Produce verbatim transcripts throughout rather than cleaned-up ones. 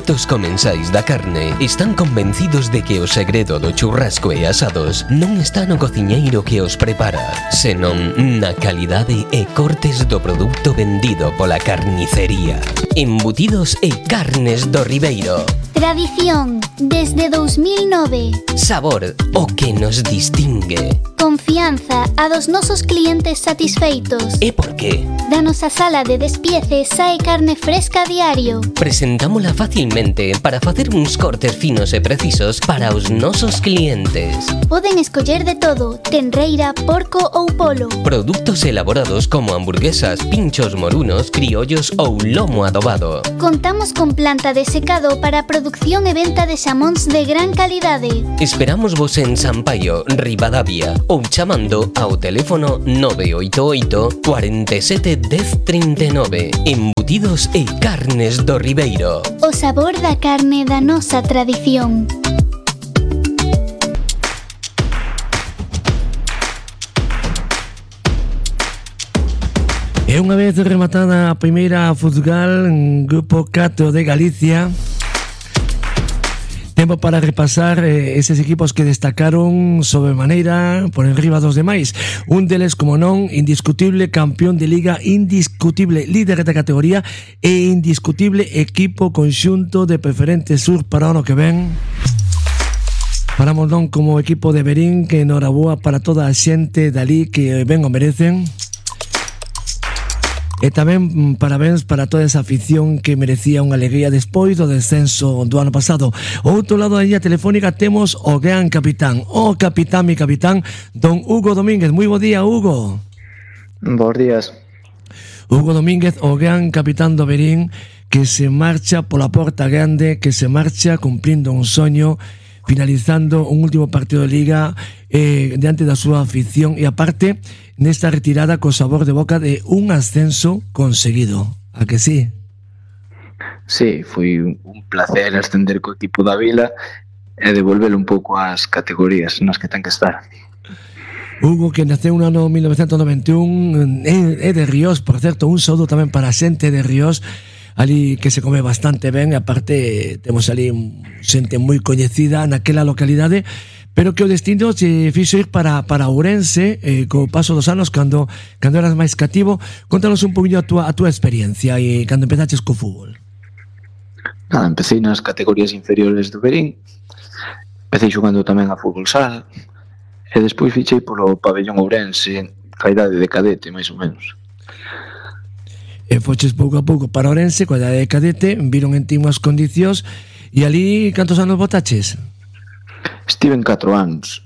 expertos comensais da carne están convencidos de que o segredo do churrasco e asados non está no cociñeiro que os prepara, senón na calidade e cortes do produto vendido pola carnicería. Embutidos e carnes do Ribeiro. Tradición, desde dous mil nove. Sabor, o que nos distingue. Confianza, a dos nosos clientes satisfeitos. E por qué? Da nosa sala de despiece sae carne fresca a diario. Presentámola facilmente para facer uns cortes finos e precisos para os nosos clientes. Poden escoller de todo, tenreira, porco ou polo. Produtos elaborados como hamburguesas, pinchos morunos, criollos ou lomo adobado. Contamos con planta de secado para producción e venta de xamóns de gran calidade. Esperamos vos en Sampaio, Ribadavia, ou chamando ao teléfono nove oito oito, cuarenta e sete, dez, trinta e nove. Embutidos e carnes do Ribeiro. O sabor da carne da nosa tradición. E unha vez rematada a primeira futsal en Grupo catro de Galicia, tempo para repasar eh, eses equipos que destacaron sobremaneira por enriba dos demais. Un deles, como non, indiscutible campeón de liga, indiscutible líder da categoría e indiscutible equipo conxunto de Preferente Sur para o ano que ven. Paramos non como equipo de Verín, que enhoraboa para toda a xente dali que ben o merecen. E tamén parabéns para toda esa afición que merecía unha alegría despois do descenso do ano pasado. Ao outro lado da línea telefónica temos o gran capitán, o capitán, mi capitán, don Hugo Domínguez. Moi bo día, Hugo. Bos días. Hugo Domínguez, o gran capitán do Verín, que se marcha pola porta grande, que se marcha cumprindo un soño, finalizando un último partido de liga eh, diante da súa afición e aparte nesta retirada co sabor de boca de un ascenso conseguido. A que sí? Sí, foi un placer ascender co equipo da Vila e devolvelo un pouco ás categorías nas que ten que estar. Hugo, que naceu no ano mil novecentos noventa e un, é de Ríos, por certo, un saúdo tamén para a xente de Ríos, ali que se come bastante ben, e aparte temos ali xente moi coñecida naquela localidade, pero que o destino se fixo ir para, para Ourense eh, co paso dos anos, cando, cando eras máis cativo. Contanos un poquinho a túa, a túa experiencia e cando empezaches co fútbol. Nada, empecé nas categorías inferiores do Verín, empecé xogando tamén a fútbol sala e despois fichei polo pabellón Ourense ca idade de cadete, máis ou menos. E foches pouco a pouco para Ourense, coa idade de cadete, viron en ti unhas condicións, e ali cantos anos botaches? Estive en catro anos,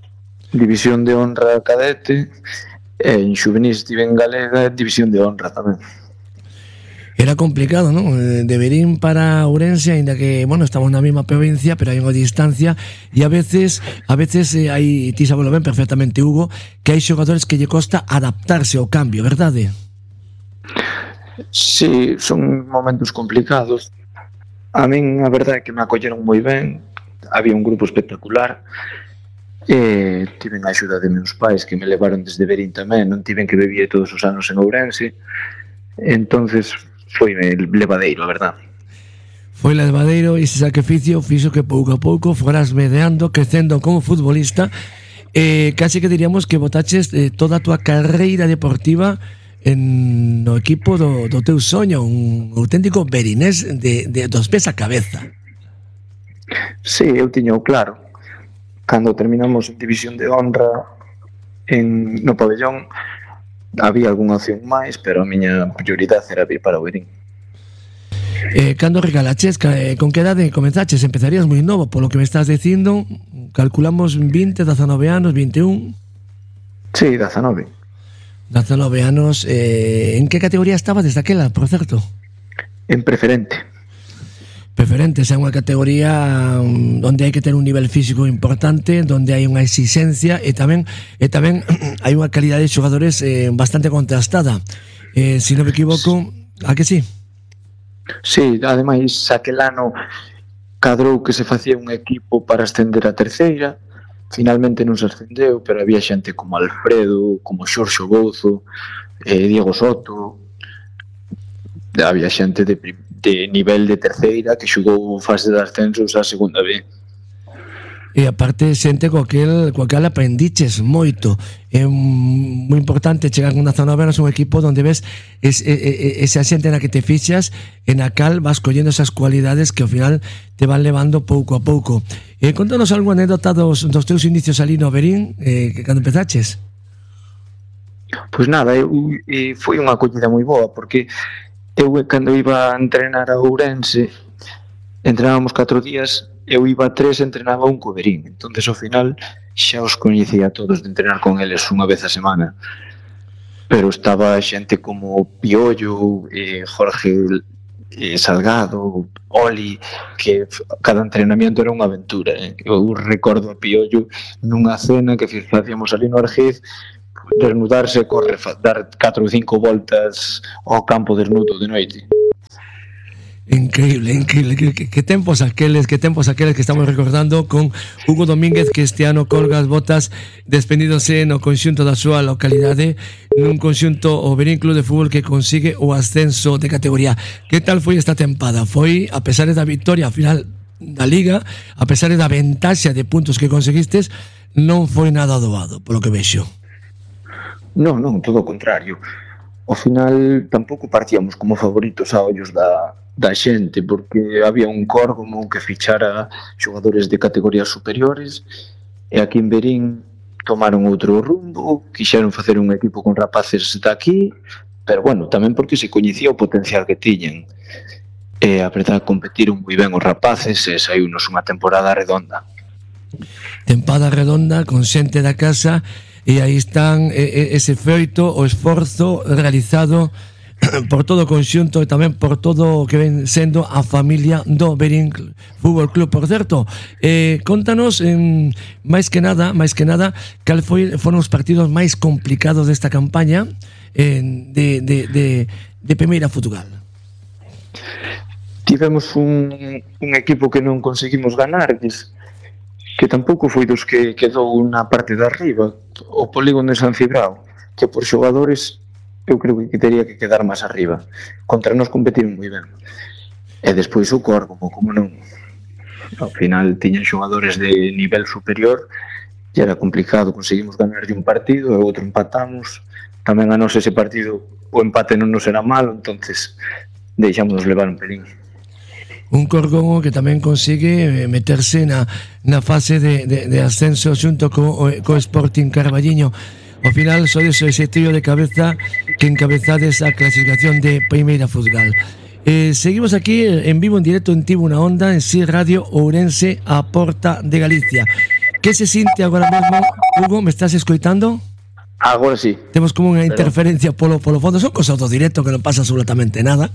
división de honra cadete, e en xuvenil estive en galega, división de honra tamén. Era complicado, non? De Verín para Ourense, aínda que, bueno, estamos na mesma provincia, pero hai unha distancia, e a veces, a veces eh, hai, ti sabelo ben perfectamente, Hugo, que hai xogadores que lle costa adaptarse ao cambio, verdade? Sí, son momentos complicados. A min a verdade é que me acolleron moi ben, había un grupo espectacular e tiven a axuda de meus pais que me levaron desde Verín tamén, non tiven que vivir todos os anos en Ourense, entonces foi levadeiro, a verdade. Foi levadeiro e ese sacrificio fixo que pouco a pouco foras medeando, crecendo como futbolista, e casi que diríamos que botaches eh, toda a túa carreira deportiva en no equipo do, do teu soño, un auténtico verinés de, de, dos pés a cabeza. Sí, eu tiño claro. Cando terminamos en división de honra en, no pabellón, había algunha opción máis, pero a miña prioridade era vir para o Verín. Eh, cando regalaches, con que edade comenzaches? Empezarías moi novo, polo que me estás dicindo. Calculamos vinte, dezanove anos, vinte e un. Sí, dezanove. dezanove anos. Eh, en que categoría estabas desde aquela, por certo? En preferente. Preferente, é unha categoría onde hai que ter un nivel físico importante, onde hai unha exigencia e tamén e tamén hai unha calidad de xogadores eh, bastante contrastada. Eh, se si non me equivoco, a que sí? Sí, ademais, aquel ano cadrou que se facía un equipo para ascender a terceira. Finalmente non se ascendeu, pero había xente como Alfredo, como Xorxo Bouzo, eh, Diego Soto, había xente de, de nivel de terceira que xogou fase de ascensos a segunda B. E aparte xente co aquel, co aquel aprendiches moito. É moi importante chegar a unha zona nova, un equipo onde ves es, es, esa xente na que te fixas e na cal vas collendo esas cualidades que ao final te van levando pouco a pouco. Eh, contanos algo anécdota dos, dos teus inicios ali no Verín, eh, que cando empezaches. Pois nada, eu, e foi unha acollida moi boa, porque eu cando iba a entrenar a Ourense, entrenábamos catro días, eu iba a tres e entrenaba un co Verín. Entonces ao final xa os coñecía a todos de entrenar con eles unha vez a semana. Pero estaba xente como Piollo, eh, Jorge eh, Salgado, Oli, que cada entrenamiento era unha aventura. Eh. Eu recordo a Piollo nunha cena que facíamos ali no Argiz, desnudarse, corre, dar catro ou cinco voltas ao campo desnudo de noite. Increíble, increíble. Que, que, que tempos aqueles, que tempos aqueles que estamos recordando con Hugo Domínguez, que este ano colga as botas despedíndose no conxunto da súa localidade, nun conxunto o Verín Club de Fútbol que consigue o ascenso de categoría. Que tal foi esta tempada? Foi, a pesar da victoria final da Liga, a pesar da ventaxa de puntos que conseguistes, non foi nada doado, polo que vexo. Non, non, todo o contrario. Ao final tampouco partíamos como favoritos a ollos da da xente, porque había un córgomo que fichara xogadores de categorías superiores e aquí en Verín tomaron outro rumbo, quixeron facer un equipo con rapaces de aquí, pero bueno, tamén porque se coñecía o potencial que tiñen. E a verdade, competiron moi ben os rapaces e saíunos unha temporada redonda. Tempada redonda con xente da casa, e aí están ese feito, o esforzo realizado por todo o conxunto e tamén por todo o que ven sendo a familia do Verín Fútbol Club. Por certo, eh, contanos eh, máis que nada, máis que nada, cal foi, foron os partidos máis complicados desta campaña eh, de, de, de, de Primeira Futugal. Tivemos un, un equipo que non conseguimos ganar, que, que tampouco foi dos que quedou na parte de arriba, o Polígono de San Cibrao, que por xogadores eu creo que teria que quedar máis arriba. Contra nós competiron moi ben. E despois o Córgomo, como non. Ao final tiñan xogadores de nivel superior e era complicado. Conseguimos ganar de un partido e outro empatamos. Tamén a nós ese partido o empate non nos era malo, entonces deixámonos levar un pelín. Un Córgomo que tamén consigue meterse na, na fase de, de, de ascenso xunto co, co Sporting Carballiño. Ao final sois ese trío de cabeza que encabezades a clasificación de Primeira Futsal. Eh, seguimos aquí en vivo, en directo en Tivo na Onda, en Si Radio Ourense, a Porta de Galicia. Que se sinte agora mesmo, Hugo? Me estás escoitando? Agora sí. Temos como unha interferencia polo, polo fondo. Son cosas do directo que non pasa absolutamente nada.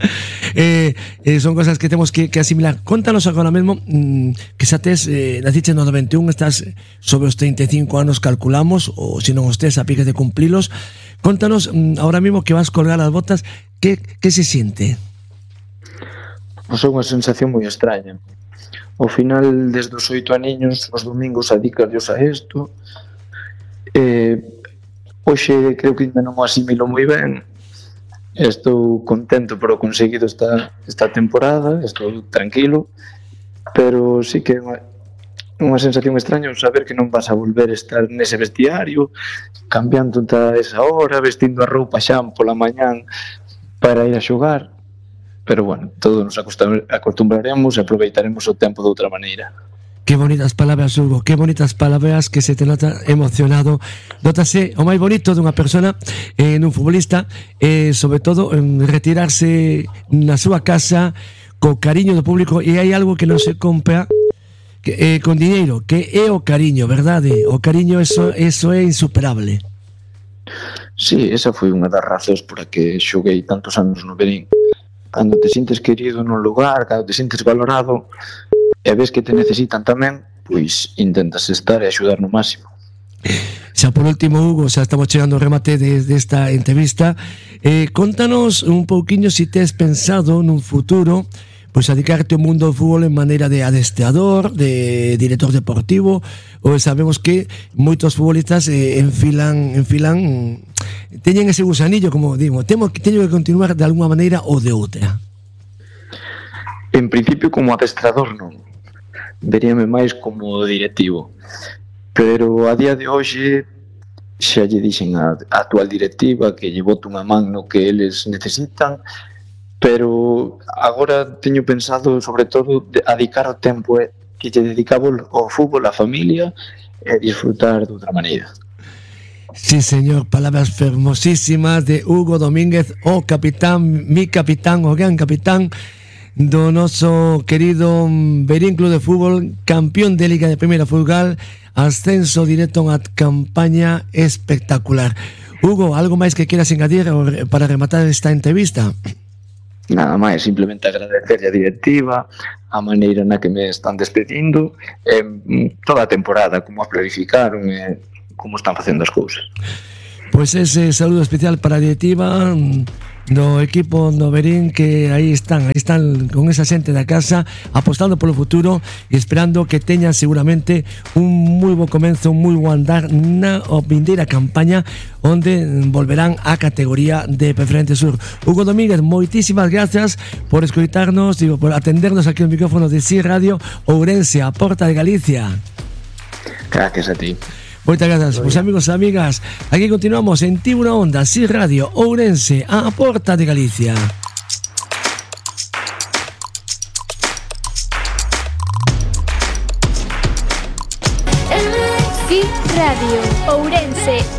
Eh, eh, son cosas que temos que, que asimilar. Contanos agora mesmo mmm, que xa tes, eh, naciche no noventa e un, estás sobre os treinta e cinco anos, calculamos, ou se non os tes a piques de cumplilos. Contanos mmm, ahora mesmo que vas colgar as botas, que, que se siente? Pois é unha sensación moi extraña. Ao final, desde os oito aniños, os domingos adicas a isto. Eh... Hoxe creo que ainda non o asimilo moi ben. Estou contento por o conseguido esta, esta temporada, estou tranquilo, pero sí que é unha, unha sensación extraña saber que non vas a volver a estar nese vestiario, cambiando a esa hora, vestindo a roupa xa pola mañán para ir a xogar. Pero bueno, todos nos acostumbraremos e aproveitaremos o tempo de outra maneira. Que bonitas palabras, Hugo, que bonitas palabras, que se te nota emocionado. Nótase o máis bonito dunha persona, eh, nun futbolista, eh, sobre todo en retirarse na súa casa co cariño do público, e hai algo que non se compra que, eh, con diñeiro, que é o cariño, verdade? O cariño, eso, eso é insuperable. Sí, esa foi unha das razóns por a que xoguei tantos anos no Verín. Cando te sintes querido nun lugar, cando te sintes valorado e ves que te necesitan tamén, pois intentas estar e axudar no máximo. Xa por último, Hugo, xa estamos chegando ao remate de, de esta entrevista. Eh, contanos un pouquiño se si tes pensado nun futuro pois adicarte ao mundo do fútbol en maneira de adestrador, de director deportivo, ou sabemos que moitos futbolistas eh, enfilan, enfilan, teñen ese gusanillo, como digo, temo, teño que continuar de alguma maneira ou de outra. en principio como adestrador non, veríame máis como directivo, pero a día de hoxe xa lle dixen a, a actual directiva que lle boto unha man no que eles necesitan, pero agora teño pensado sobre todo de dedicar o tempo eh, que lle dedicaba ao fútbol, á familia e disfrutar de outra maneira. Sí, señor, palabras fermosísimas de Hugo Domínguez, o capitán, mi capitán, o gran capitán do noso querido Verín Club de Fútbol, campeón de Liga de Primeira Futsal, ascenso directo a unha campaña espectacular. Hugo, algo máis que quieras engadir para rematar esta entrevista? Nada máis, simplemente agradecerlle a directiva a maneira na que me están despedindo, eh, toda a temporada, como a planificaron e eh, como están facendo as cousas. Pois ese saludo especial para a directiva do equipo do Verín, que aí están, aí están con esa xente da casa apostando polo futuro e esperando que teñan seguramente un moi bo comenzo, un moi bo andar na vindeira campaña onde volverán á categoría de Preferente Sur. Hugo Domínguez, moitísimas gracias por escoitarnos, digo, por atendernos aquí no micrófono de Si Radio Ourense, a porta de Galicia. Gracias a ti. Moitas grazas, pois amigos e amigas, aquí continuamos en Tivo unha Onda, Si Radio Ourense, a porta de Galicia. Si Radio Ourense.